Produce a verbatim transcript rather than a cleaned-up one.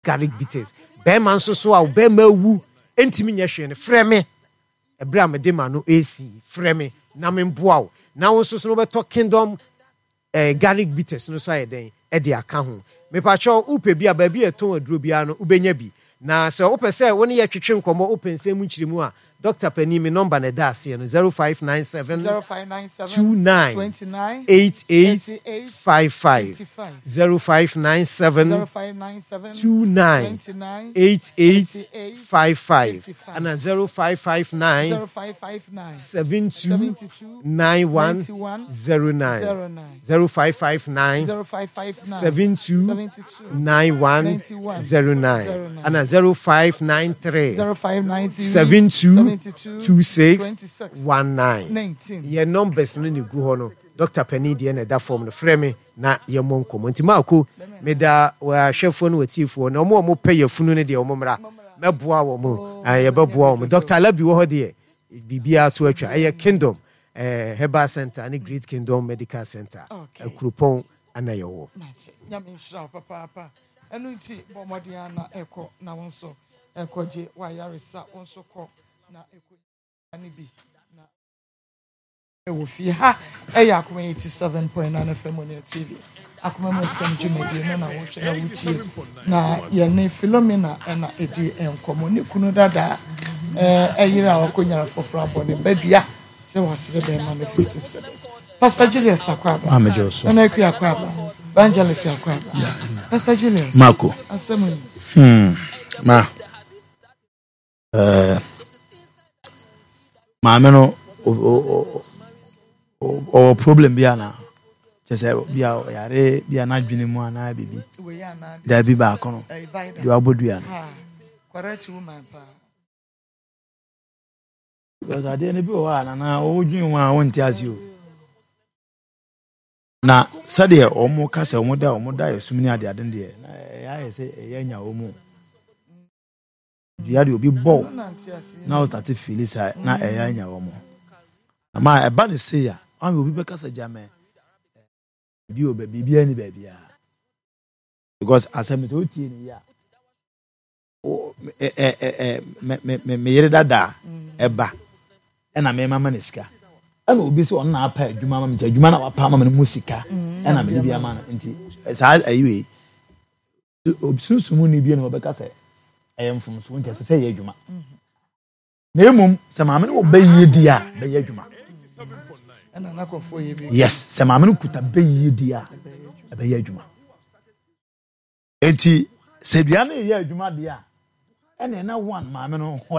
Garlic bitters. Bɛrima nso so a bɛrima awu ntumi nyɛ hwee no, frɛ me. Ɛberɛ a mede ma no ɛsi, frɛ me na memboa wo. Na wo nso so no wobɛtɔ Kingdom eh, garlic bitters no so ayɛ dɛn ɛde aka ho. Mepakyɛw, wopɛ bi a, baabi a ɛtɔn aduro biara no wobɛnya bi. Na sɛ wopɛ sɛ wo ne yɛ twetwe nkɔmmɔ, wopɛ nsɛm mu nkyerɛmu a, Doctor panin, me number na ɛda aseɛ no, zero five nine seven zero five nine seven two nine twenty-nine eight eight eighty-eight five five. fifty-five. zero five nine seven zero five nine seven two nine twenty-nine eighty-eight eighty-eight five five fifty-five. Ana zero five five nine zero five five nine seven two seventy-two nine one ninety-one zero nine. zero nine. zero five five nine zero five five nine seven two seventy-two nine one ninety-one zero nine. zero nine. Ana zero five nine three zero five nine three seven two seventy-two two six twenty-six nineteen. nineteen. Yɛ numbers no ne gu hɔ no. Doctor panin deɛ na ɛda fam no, frɛ me na yɛmmɔ nkɔmmɔ. Nti maako meda ahwɛfoɔ no, watiefoɔ na ɔmo a ɔmo pɛ yɛfunu no deɛ, ɔmo mmra, mɛboa wɔ mo. Ah, yɛbɛboa wɔ mo. Doctor Alabi wɔ hɔ deɛ, biribiara to atwa. Ɛyɛ Kingdom eh, Herbal Center ne Great Kingdom Medical Center. Okay. Akuropɔn ana yɛwɔ. Mate. Nyame nhyira wo papaapa. Ɛno nti bɔ mmɔden a na ɛkɔ na wo nso ɛkɔgye wayaresa. Wo nso kɔ na ɛkɔ ne bi na ɛwɔ fie ha. Ɛyɛ Akoma eighty-seven point nine F M on your T V. Akoma mu nsɛm dwumadie no na wohwɛ na wotie, na yɛne Philomena ɛna ɛdi nkɔmmɔ. Ne kunu dada ɛɛ ɛyere a wakɔnyara foforɔ abɔ ne badua sɛ wasere bɛrima no fifty cedis. Pastor Julius Akwaba. Maame Joso. Nana Akua Akwaba, Evangelist Akwaba, Pastor Julius. Marco. Asɛm yi. Hmm. Ma. Uh, maame no ɔwɔ problem bi ana kyɛ sɛ bi a ɔyare bi a n'adwene mu anaa biribi? Wei anaa? Daabi, baako no. Ɛyɛ vida. Deɛ wabɔ dua no. Ah, correct woman paa. Because adeɛ no bi wɔ hɔ a, nana, wɔdwene ho a wonte ase o. Na sɛdeɛ wɔn ka sɛ wɔn da wɔn da yɛ sum ne adeade no deɛ, na ɛyɛ ayɛ sɛ ɛyɛ anya wɔn mu dua deɛ obi bɔ Ɛno na nte ase. Na ɔstart feel saa na ɛyɛ anya wɔn. Ama ɛba ne se a ɔmo obi bɛka sɛ gyamɛ bi wɔ baabi, biribi ani baabiara, because asɛm sɛ wotie ne yie a, wo- ɛ ɛ ɛ ɛ me me me me yere dada ɛba ɛna mɛma ma ne sika, ɛna obi sɛ ɔno na apa adwuma ama me, nti adwuma na wapa ama me no mu sika ɛna mede bi ama no. Nti saa ayi wei, sunsun ni bi na ɔbɛka sɛ ɛyɛ mfomso, nti ɛsɛ sɛ ɛyɛ adwuma. Na emom sɛ maame no wɔ bɛyie di a, bɛyɛ adwuma. Ɛna n'akɔfoɔ yɛ bi. Yes, sɛ maame no kuta bɛyie di a, ɛbɛyɛ adwuma. Eti sɛ dua no yɛ adwuma deɛ a, ɛna ɛna one maame no hɔ.